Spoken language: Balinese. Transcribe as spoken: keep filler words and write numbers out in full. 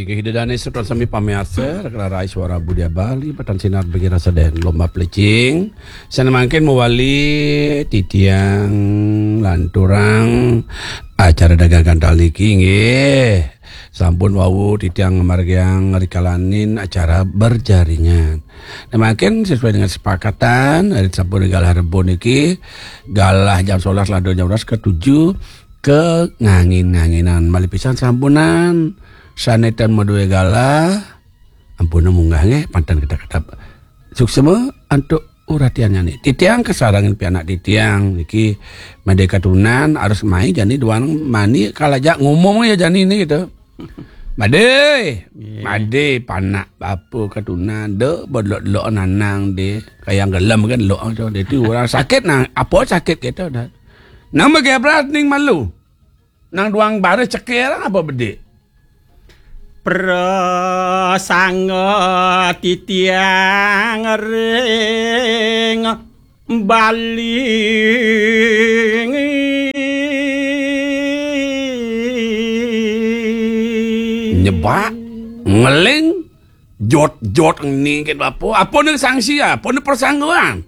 Nggih, Ida Dane semeton sami pamiarsa, Rarai Suara Budaya Bali, Batan Sinar bagi rasa den, lomba pelecing. Sane mangkin mawali titiang lanturang acara dagang gantal niki, nggih. Sampun wau titiang ngamargiang rikalaning acara berjaringan. Nah, mangkin sesuai dengan sepakatan, hari sampun galah Rebo niki, galah jam sebelas, lado jam sebelas ketuju ke ngangin-nganginan. Malih pisan sampunan sane ten madue galah, ampun munggah nggih, panten kedap-kedap. Suksma antuk uratiannyane. Titiang kasarengin pianak titiang niki madue katunan, harus mai jani duang mani kalaja ngomong ya jani ni gitu. Madue, Nggih. Madue panak bapa katunan, de bedlok-delok nanang de, kayang gelem kan lok tu. Dia tu orang sakit nang, apa sakit kita dah. Nang begebras ning malu. Nang duang baris ceker apa bedik. Prasangga titiang ring Bali. Nyebak, ngeling, jot-jot ningkit bapa. Apa ni sanksi, apa ni persangguan?